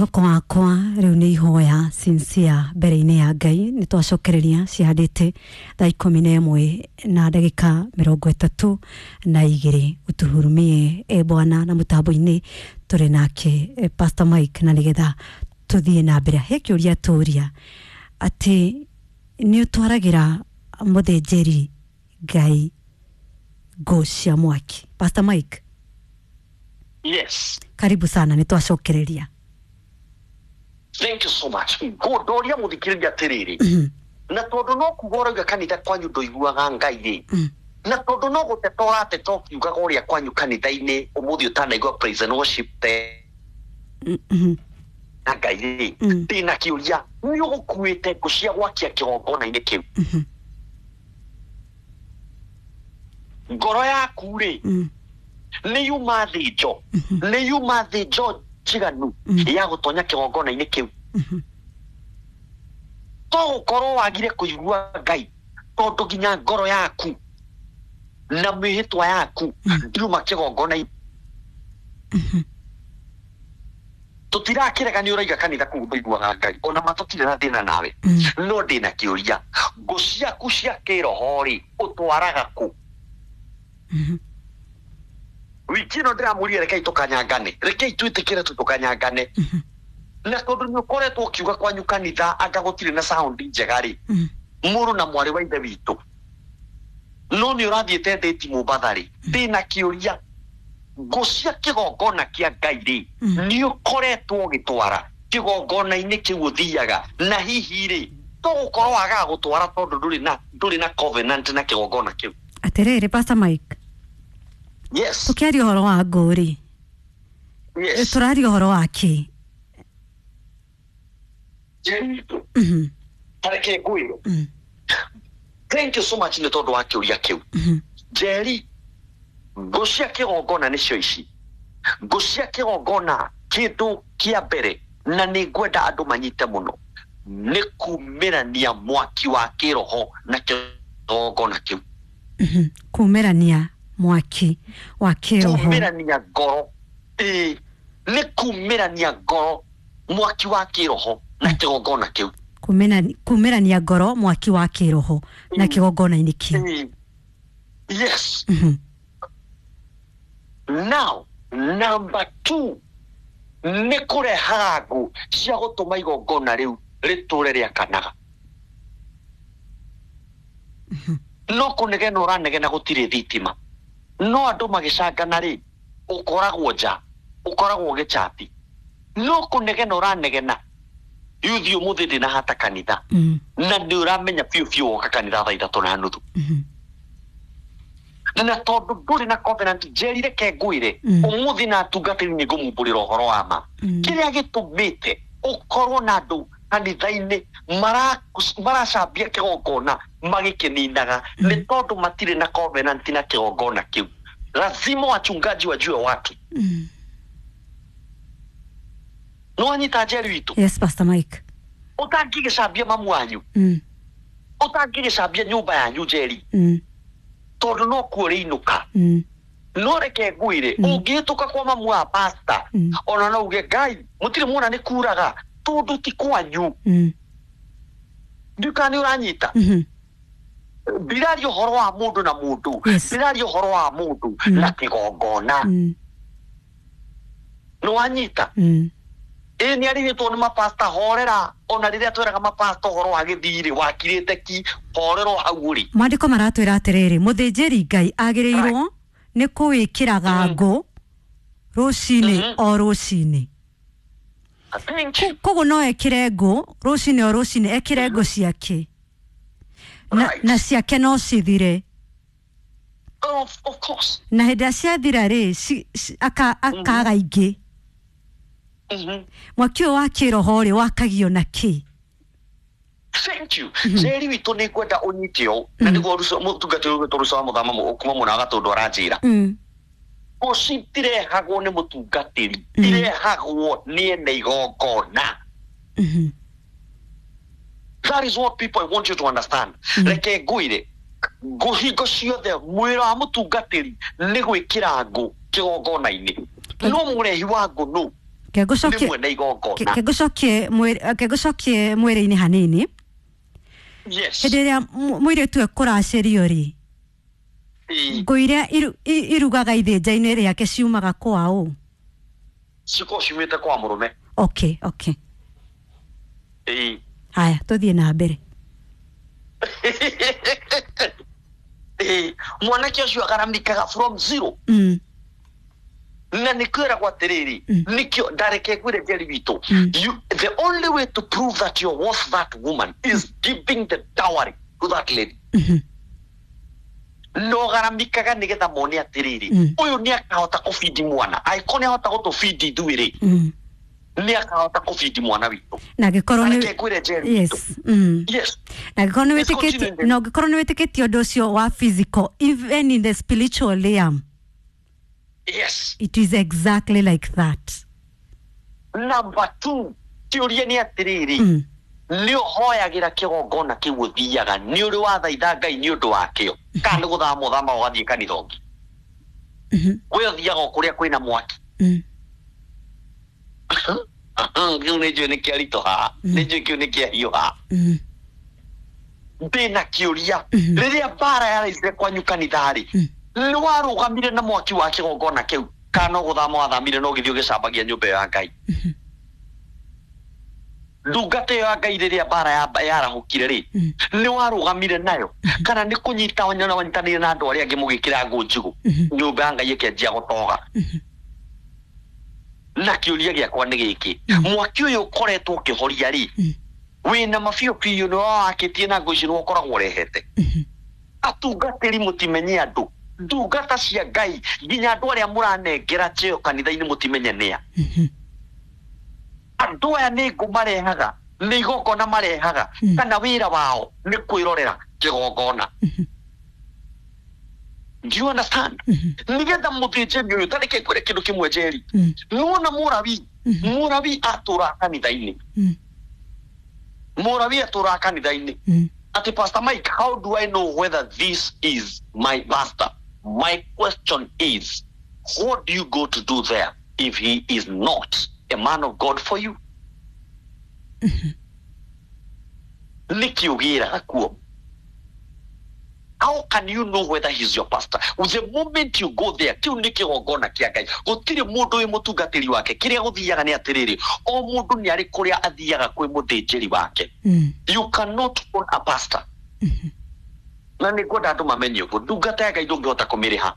Mwĩhoko wakwa rĩu nĩ ihoya sincere mbere-inĩ ya Ngai. Nĩ twacokereria cihandĩte thaa 11 na ndagĩka 32. Utuhurumie e Bwana. Na mũtambo-inĩ tũrĩ nake Pastor Mike, na nĩgetha tũthiĩ na mbere he kĩũria tũria atĩ nĩ ũtwaragĩra mũthĩnjĩri Ngai ngũ cia mwaki. Pastor Mike? Yes. Karibu sana, nĩ twacokereria. Thank you so much. Ngũndoria mũthikĩrĩria atĩrĩrĩ, na tondũ no kuga ũrauga kanitha kwanyu ndũiguaga Ngai rĩ, na tondũ no gũteta ũrateta ũkiugaga ũrĩa kwanyu kanitha-inĩ ũmũthĩ ũtanaigua praise and worship te na Ngai rĩ, ndĩna kĩũria: nĩ ũgũkuĩte ngũ cia gwakia kĩgongona-inĩ kĩu? Ngoro yaku rĩ, nĩ yuma thĩnjo, nĩ yuma thĩnjo njiganu ya gũtonya kĩgongona-inĩ kĩu? To gũkorwo wagire kũigua Ngai tondũ nginya ngoro yaku na mĩhĩtwa yaku ndiuma kĩgongona-inĩ. Tũtirakĩrega nĩ ũraiga kanitha kũu ndũiguaga Ngai, ona ma tũtirĩ na thĩna nawe, no ndĩna kĩũria: ngũ ciaku cia kĩroho rĩ, ũtwaraga kũ? Wiki ĩno ndĩramũria, rekei tũkanyangane, rekei twĩtĩkĩre tu tũkanyangane. Na tondũ nĩ ũkoretwo ũkiuga kwanyu kanitha anga gũtirĩ na sound njega rĩ, mũrũ na mwarĩ wa ithe witũ, no nĩ ũrathiĩte ndĩti Mombatha rĩ, ndĩna kĩũria: ngũ cia kĩgongona kĩa Ngai rĩ, nĩ ũkoretwo ũgĩtwara kĩgongona-inĩ kĩu ũthiaga? Na hihi rĩ, to gũkorwo wagaga gũtwara tondũ ndũrĩ na covenant na kĩgongona kĩu? Atĩrĩrĩ, Pastor Mike. Yes. Tũkĩaria ũhoro wa ngũ rĩ, tũraria ũhoro wa kĩ? Tareke ngwĩre. Thank you so much nĩ tondũ wa kĩũria kĩu, Njeri. Ngũ cia kĩgongona nĩcio ici. Ngũ cia kĩgongona, kĩndũ kĩa mbere na nĩ ngwenda andũ manyite mũno, nĩ kumĩrania mwaki wa kĩroho na kĩgongona kĩu. Kumĩrania mwaki wa kĩroho. Kumĩrania ngoro, ĩĩ, nĩ kumĩrania ngoro mwaki wa kĩroho na kĩgongona kĩu. Kumĩrania ngoro mwaki wa kĩroho na kĩgongona-inĩ kĩu. Ĩĩ. Yes. Now number two nĩ kũrehaga ngũ cia gũtũma igongona rĩu rĩtũre rĩakanaga. No kũnegena ũranegena gũtirĩ thitima, no andũ magĩcangana rĩ, ũkoragwo nja, ũkoragwo ũgĩchati, no kũnegena ũranegena yuthi ũmũthĩ ndĩna hata kanitha, na nĩ ũramenya biũ biũ woka kanitha thaa 3:30, na tondũ ndũrĩ na covenant. Njeri, reke ngwĩre, ũmũthĩ na atungatĩri nĩ ngũmumbũrĩra ũhoro wa ma. Kĩrĩa gĩtũmĩte ũkorwo na andũ kanitha-inĩ maracambia kĩgongona magĩkĩninaga nĩ tondũ matirĩ na covenant na kĩgongona kĩu. Lazima wachungaji wajue watu. Nĩ wanyita, Njeri witũ? Yes, Pastor Mike. Ũtangĩgĩcambia mamu wanyu, ũtangĩgĩcambia nyũmba yanyu, Njeri, tondũ no kuo rĩinũka. No reke ngwĩre, ũngĩhĩtũka kwa mamu wa pasta, ona no uge Ngai mũtirĩ muona nĩ kuraga, tondũ ti kwanyu. Ndiũ kana nĩ ũranyita. Ndiraria ũhoro wa mũndũ na mũndũ. Ndiraria ũhoro wa mũndũ na kĩgongona. Nĩ wanyita? Ĩ nĩ arigĩtwo nĩ mapasta. Horera, ona rĩrĩa tweraga mapasta ũhoro wa gĩthirĩ wakirĩte ki, horera o hau ũrĩ. Mwandĩko maratwĩra atĩrĩrĩ, mũthĩnjĩri Ngai agĩrĩirwo nĩ kũwĩkĩraga ngũ rũcinĩ o rũcinĩ. Thank you. Koguo no ekĩre ngũ rũcinĩ o rũcinĩ, ekĩre ngũ ciake na, na ciake no cithire. Of course. Na hĩndĩ ĩrĩa ciathira rĩ, akaga ingĩ. Mwaki ũyũ wa kĩroho rĩ, wakagio na kĩ? Thank you, Njeri witũ. Nĩ ngwenda ũnyite ũũ, na nĩguo mũtungatĩri ũgwĩtwo Ruca wa Mũthama kuma mwena wa Gatũndũ aranjĩra, ngũ citirehagwo nĩ mũtungatĩri, irehagwo nĩ ene igongona. That is what people I want you to understand. Reke ngwĩre, ngũ hingo ciothe mwĩra wa mũtungatĩri nĩ gwĩkĩra ngũ kĩgongona-inĩ, no mũrehi wa ngũ nũ? Nĩ mwene igongona. Kengũcokie mwĩrĩ-inĩ hanini. Yes. Hĩndĩ ĩrĩa mũirĩtu ekũracĩrio rĩ, ngũ iria irugaga ithĩnja-inĩ rĩake ciumaga kwa ũ? Cikorwo ciumĩte kwa mũrũme. Okay. Haya, tũthiĩ na mbere. Mwanake ũcio agaramikaga from zero. Na nĩkwĩragwo atĩrĩrĩ, nĩkĩo ndareke ngwĩre Njeri witũ, the only way to prove that you're worth that woman is giving the dowry to that lady. No garamikaga nĩgetha mone atĩrĩrĩ, ũyũ nĩ akahota kũbindi mwana, angĩkorwo nĩ ahota gũtũbindi ithuĩ rĩ, nĩ akahota kũbindi mwana witũ. Na angĩkorwo nĩ Reke ngwĩre Njeri yes. witũ. Yes. Na angĩkorwo nĩ Let's wĩtĩkĩtie, continue. na ũngĩkorwo nĩ wĩtĩkĩtie ũndũ ũcio wa physical, even in the spiritual realm, Yes. it is exactly like that. Number 2, kĩũria nĩ atĩrĩrĩ, nĩ ũhoyagĩra kĩgongona kĩu ũthiaga, nĩ ũrĩ wathaitha Ngai nĩ ũndũ wakĩo, kana nĩ gũthama ũthama ũgathiĩ kanitha ũngĩ? We ũthiaga o kũrĩa kwĩna mwaki. Kĩu nĩ njũĩ nĩ kĩaritũha, nĩ njũĩ kĩu nĩ kĩahiũha. Ndĩna kĩũria, rĩrĩa mbara yaraicire kwanyu kanitha rĩ, nĩ warũgamire na mwaki wa kĩgongona kĩu, kana no gũthama wathamire no ũgĩthiĩ ũgĩcambagia nyũmba ĩyo ya Ngai? Ndungata ĩyo ya Ngai rĩrĩa mbara yarahũkire rĩ, nĩ warũgamire nayo, kana nĩ kũnyita wanyitanĩire na andũ arĩa angĩ mũgĩkĩra ngũ njigũ, nyũmba ya Ngai ĩkĩanjia gũtoga? Na kĩũria gĩakwa nĩ gĩkĩ, mwaki ũyũ ũkoretwo ũkĩhoria rĩ, wĩna mabiũ biũ nĩ wakĩtie na ngũ ici nĩ ũkoragwo ũrehete. Atungatĩri mũtimenye andũ, ndungata cia Ngai, nginya andũ arĩa mũranengera cheo kanitha-inĩ mũtimenye nĩa. Andũ aya nĩ ngũ marehaga, nĩ igongona marehaga, kana wĩra wao nĩ kwĩrorera kĩgongona. Do you understand? Nĩgetha mũthĩnjĩri ũyũ, ta reke ngwĩre kĩndũ kĩmwe Njeri. Nĩwona Mũrawi, Mũrawi atũraga kanitha-inĩ. Mũrawi atũraga kanitha-inĩ. Ati Pastor Mike, how do I know whether this is my pastor? My question is, what do you go to do there if he is not a man of God for you? Nĩkĩ ũgĩraga kuo? How can you know whether he's your pastor? The moment you go there, kĩu nĩ kĩgongona kĩa Ngai. Gũtirĩ mũndũ wĩ mũtungatĩri wake. Kĩrĩa gũthiaga nĩ atĩrĩrĩ, o mũndũ nĩ arĩ kũrĩa athiaga kwĩ mũthĩnjĩri wake. You cannot own a pastor. Na nĩ ngwenda andũ mamenye ũguo, ndungata ya Ngai ndũngĩhota kũmĩrĩha.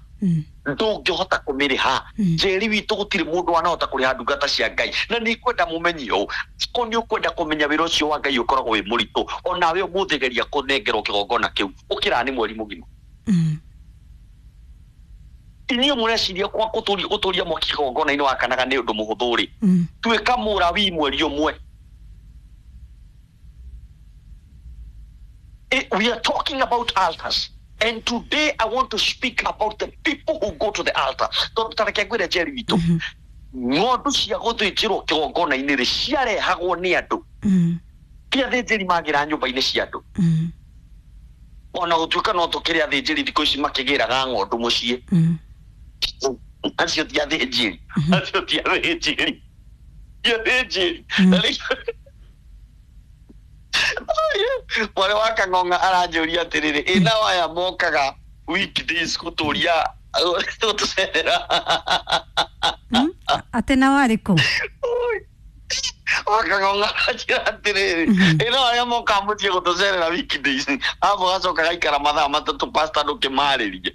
Ndũngĩhota kũmĩrĩha. Njeri witũ gũtirĩ mũndũ wanahota kũrĩha ndungata cia Ngai. Na nĩ ngwenda mũmenye ũũ, ko nĩ ũkwenda kũmenya wĩra ũcio wa Ngai ũkoragwo wĩ mũritũ, onawe ũmũthĩ geria kũnengerwo kĩgongona kĩu, ũkĩraga nĩ mweri mũgima. Inyuĩ mũreciria kwa gũtũria mwaki kĩgongona-inĩ wakanaga nĩ ũndũ mũhũthũ rĩ, tuĩka Mũrawi mweri ũmwe. We are talking about altars. And today I want to speak about the people who go to the altar. Tondũ ta reke ngwĩre Njeri witũ, ng'ondu cia gũthĩnjĩrwo kĩgongona-inĩ rĩ, ciarehagwo nĩ andũ. Ti athĩnjĩri magĩra nyũmba-inĩ cia andũ. Ona gũtuĩka no tũkĩrĩ athĩnjĩri thikũ ici makĩgĩraga ng'ondu mũciĩ. Acio ti athĩnjĩri. Acio ti athĩnjĩri. Ti athĩnjĩri. Mwarĩ wa Kang'ong'a aranjũria atĩrĩrĩ, ĩ nao aya mokaga weekdays gũtũria gũtũcerera. Atĩ nao arĩkũ? Wa Kang'ong'a aranjĩra atĩrĩrĩ, ĩ nao arĩa mokaga mũciĩ gũtũcerera weekdays, arabu gacoka gaikara mathaa 3 pastor ndũkĩmarĩrie.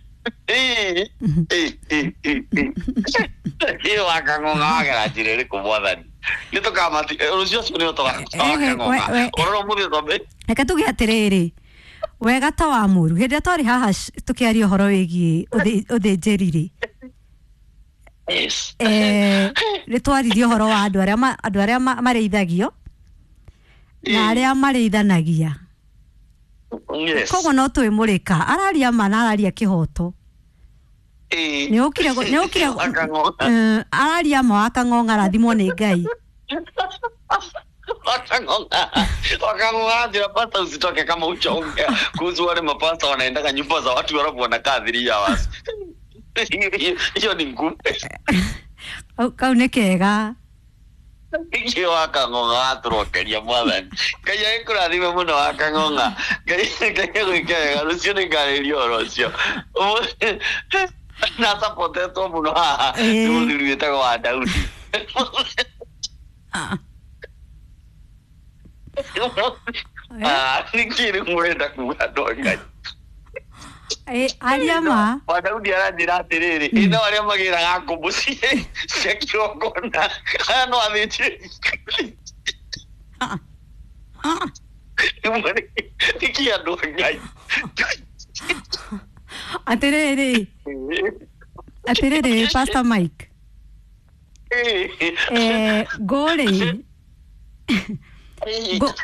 Ĩ wa Kang'ong'a wagera njĩra ĩrĩkũ mwathani? Nĩ tũkamati rũciũ ũcio nĩ ũtoga. Ũrora ũmũthĩ twambe. Reke tuge atĩrĩrĩ, wega ta wa mũru, hĩndĩ ĩrĩa twarĩ haha tũkĩaria ũhoro wĩgiĩ ũthĩnjĩri rĩ, Yes. Nĩ twaririe ũhoro wa andũ arĩa marĩithagio na arĩa marĩithanagia. Yes. Koguo no twĩmũrĩka, araria ma na araria kĩhoto. Nĩ ũkire araria ma wa Kang'ong'a arathimwo nĩ Ngai. Wakang'ong'a njĩra pastor usitoke kama uchaongea kuhusu wale mapasta wanaendaga nyumba za watu walafu wanakaa 3 hours. Hiyo ni ngumu. Kau nĩ kega. Nĩkĩ wakang'ong'a watũrokeria mwathani. Ngai agĩkũrathime mũno wakang'ong'a. Ngai agwĩke wega, rũciũ nĩngarĩria ũhoro ũcio. Na sapotetwo mũno haha nĩ mũthuri wĩtagwo wa Daudi. Nĩkĩ rĩu mũrenda kuga andũ a Ngai? Aria ma. Wa Daudi aranjĩra atĩrĩrĩ, ĩ no arĩa magĩraga ngũ mũciĩ cia kĩgongona, aya no athĩnjĩri. Nĩkĩ andũ a Ngai? Atĩrĩrĩ, atĩrĩrĩ Pastor Mike. Ngũ-rĩ,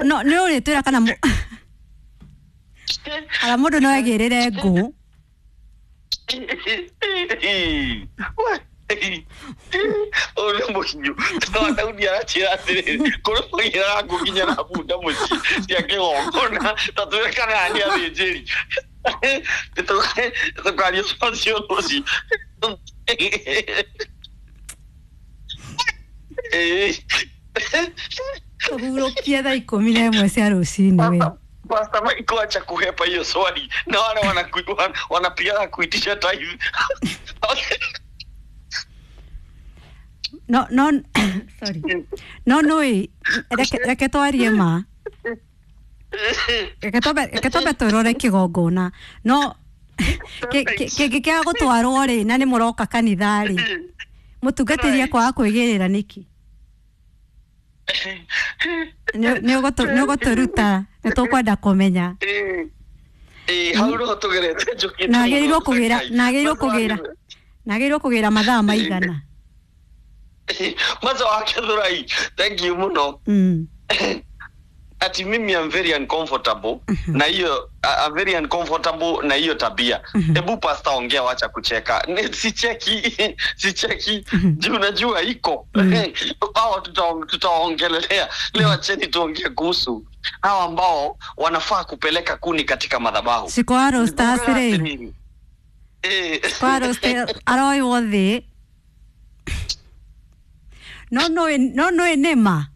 no nĩ ũrĩtwĩra kana kana mũndũ no egĩrĩre ngũ. Ũyũ nĩ mũhiũ. No Daudi aranjĩra atĩrĩrĩ, kũrĩ magĩraga ngũ nginya na bunda mũciĩ cia kĩgongona, ta twĩre kana aya nĩ athĩnjĩri. Tũkaria ũcio rũciũ. Tũhurũkie thaa 11 cia rũcinĩ we. Pastor Mike, acha kuhepa hiyo swali na wale wanapigaga kuitisha tithe. No no sorry. No no reke twarie ma. Reke twambe twĩrore kĩgongona. No kĩngĩkĩaga gũtwarwo rĩ na nĩ mũroka kanitha rĩ, mũtungatĩri ekwaga kwĩgĩrĩra nĩkĩ? Nĩ ũgũtũruta, nĩ tũkwenda kũmenya. Hau noho tũgerete njũkĩte. Na agĩrĩirwo kũgĩra, na agĩrĩirwo kũgĩra, na agĩrĩirwo kũgĩra mathaa maigana. Maza wake Thurai, thank you mũno. Ati mimi I'm very uncomfortable na hiyo, I'm very uncomfortable na hiyo tabia. Ebu pastor ongea, wacha kucheka. Sicheki, sicheki. Juu unajua iko. Hao tutaongelelea. Leo acheni tuongee kuhusu hao ambao wanafaa kupeleka kuni katika madhabahu. Siko Roosters rĩ. Kwa Roosters aroywo thĩ. No no no no nĩma.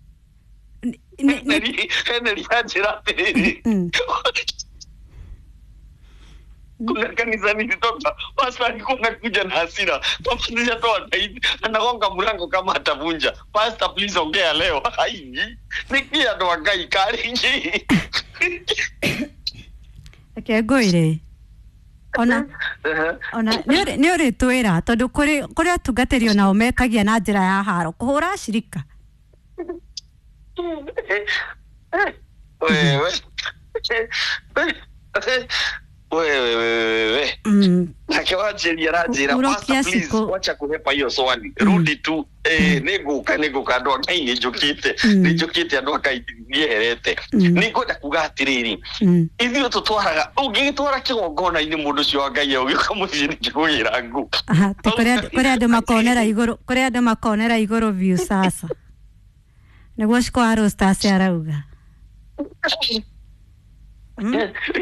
Henry anjĩra atĩrĩrĩ, kuna kanisa nilitoka, pastor alikuwa anakuja na hasira, kama sijatoa tithe anagonga mlango kama atavunja. Pastor please ongea leo. Ai, nĩkĩ andũ a Ngai karĩngĩ? Reke ngwĩre, ona ona nĩ ũrĩtwĩra tondũ kũrĩ atungatĩri onao mekagia na njĩra ya haro kũhũra acirika. Wewe wewe wewe nake wanjĩria aranjĩra pastor please wacha kuhepa hiyo swali, rudi tu. Nĩngũka nĩngũka andũ a Ngai, nĩnjũkĩte nĩnjũkĩte andũ a Ngai nĩeherete. Nĩngwenda kuga atĩrĩrĩ, ithuĩ tũtwaraga, ũngĩgĩtwara kĩgongona-inĩ mũndũ ũcio wa Ngai ũgĩũka mũciĩ nĩkĩgũgĩra ngũ. Kũrĩ andũ makonera igũrũ, kũrĩ andũ makonera igũrũ biũ sasa. Nĩguo Shiko Roosters arauga.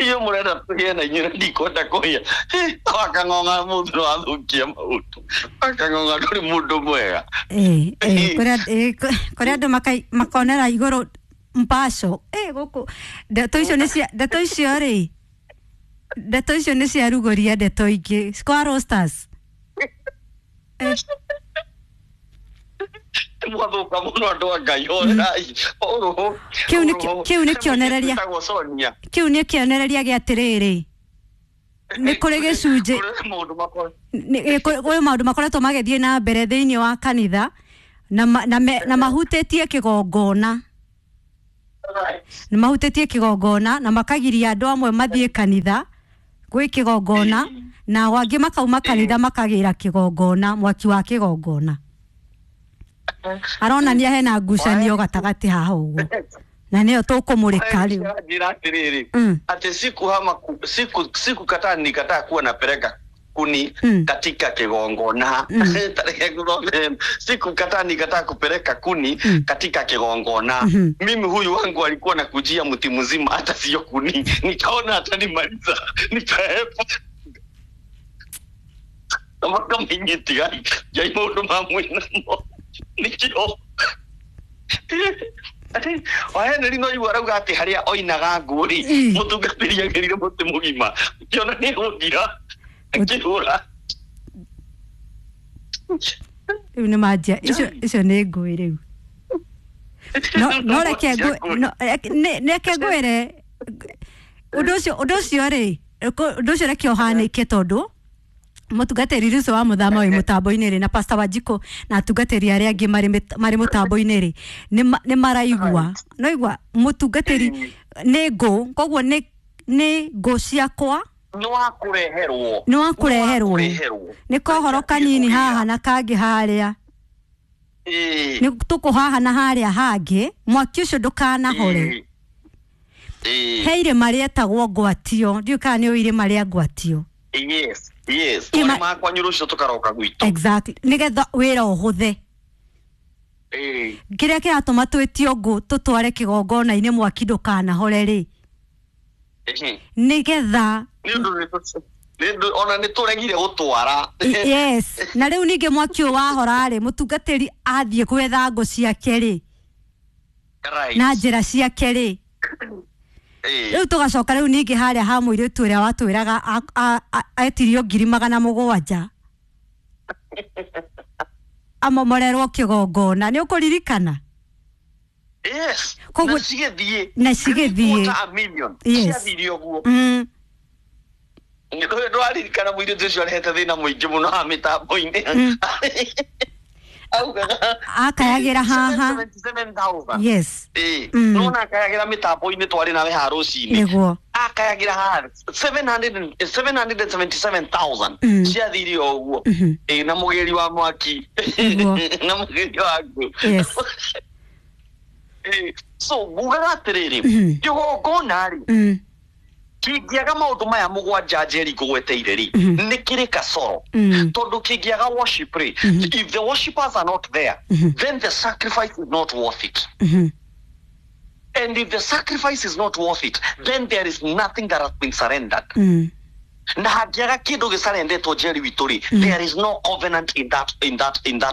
Iyo mũrenda tũgĩe na inyuĩ na ndikwenda kũhĩa. Wakang'ong'a mũndũ no athũkie maũndũ. Wakang'ong'a ndũrĩ mũndũ mwega. Kũrĩ andũ makonera igũrũ mpaco. Gũkũ ndeto icio nĩ cia, ndeto icio rĩ, ndeto icio nĩ ciarugũria ndeto ingĩ. Shiko Roosters. Mwathuka mũno andũ a Ngai, horerai. Kĩu nĩ kĩonereria, kĩu nĩ kĩonereria gĩa atĩrĩrĩ, nĩ kũrĩ gĩcunjĩ, kũrĩ maũndũ makoretwo magĩthiĩ na mbere thĩinĩ wa kanitha na mahutĩtie kĩgongona, nĩ mahutĩtie kĩgongona na makagiria andũ amwe mathiĩ kanitha gwĩ kĩgongona, na angĩ makauma kanitha makagĩra kĩgongona, mwaki wa kĩgongona. Aronania hena ngucanio gatagatĩ haha ũguo na nĩyo tũkũmũrĩka rĩu. Njĩra atĩrĩrĩ, atĩ sikukataa nikataa kuwa napeleka kuni katika kigongona. Sikukataa nikataa kupeleka kuni katika kigongona. Mimi huyu wangu alikuwa nakujia mti mzima hata sio kuni, nikaona atanimaliza nikaepa. Kama inyitigai jai maũndũ ma mwĩnamo nikio. Wa Henry no igua arauga atä harä a oinaga ngũ rĩ, mũtungatĩri agĩrire mũtĩ mũgima kĩona nĩ gũthira akĩhũra. Rĩu nĩ manjia icio nĩ ngũĩ rĩu. No reke reke ngwĩre ũndũ ũcio rĩ, ũndũ ũcio reke ũhanĩke, tondũ mũtungatĩri Ruco wa mũthama wĩ mũtambo-inĩ rĩ, na Pastor Wanjikũ na atungatĩri arĩa angĩ marĩ mũtambo-inĩ rĩ, nĩ maraigua no igua mũtungatĩri nĩ ngũ, koguo nĩ ngũ ciakwa. Nĩ wa kũreherwo. Nĩ wa kũreherwo. Nĩ kohoro kanini haha na kangĩ harĩa, nĩ tũkũ haha na harĩa hangĩ, mwaki ũcio ndũkanahore. He irĩma rĩetagwo Ngwatio, ndiũĩ kana nĩ ũĩ irĩma rĩa Ngwatio. Yes, makwanyu rũcio tũkaroka gwitũ. Exactly, nĩgetha wĩra ũhũthe. Kĩrĩa kĩratũma twĩtio ngũ tũtware kĩgongona-inĩ mwaki ndũkanahore rĩ, nĩgetha Nĩ ona nĩ tũregire gũtwara. Yes, na rĩu ningĩ mwaki ũyũ wahora rĩ, mũtungatĩri athiĩ gwetha ngũ ciake rĩ, na njĩra ciake rĩ, rĩu tũgacoka rĩu ningĩ harĩa ha mũirĩtu ũrĩa watwĩraga etirio 700,000 amomorerwo kĩgongona, nĩ ũkũririkana? Yes. Koguo na cigĩthiĩ. Na cigĩthiĩ. Quarter a million. Ciathire ũguo. Ndwaririkana mũirĩtu ũcio arehete thĩna mũingĩ mũno ha mĩtambo-inĩ, augaga akayagĩra haha. 777,000. Nona akayagĩra mĩtambo-inĩ twarĩ nawe ha rũcinĩ. Nĩguo. Akayagĩra haha 777,000 ciathire o ũguo. Ĩ, na mũgĩri wa mwaki Nĩguo. na mũgĩri wa ngũ. So ngugaga atĩrĩrĩ, kĩgongona rĩ, kĩngĩaga maũndũ maya mũgwanja Njeri ngũgweteire rĩ, nĩ kĩrĩ kasoro, tondũ kĩngĩaga worship rĩ, if the worshipers are not there, then the sacrifice is not worth it, and if the sacrifice is not worth it, then there is nothing that has been surrendered. Na hangĩaga kĩndũ gĩcarendetwo, Njeri witũ rĩ, there is no covenant in that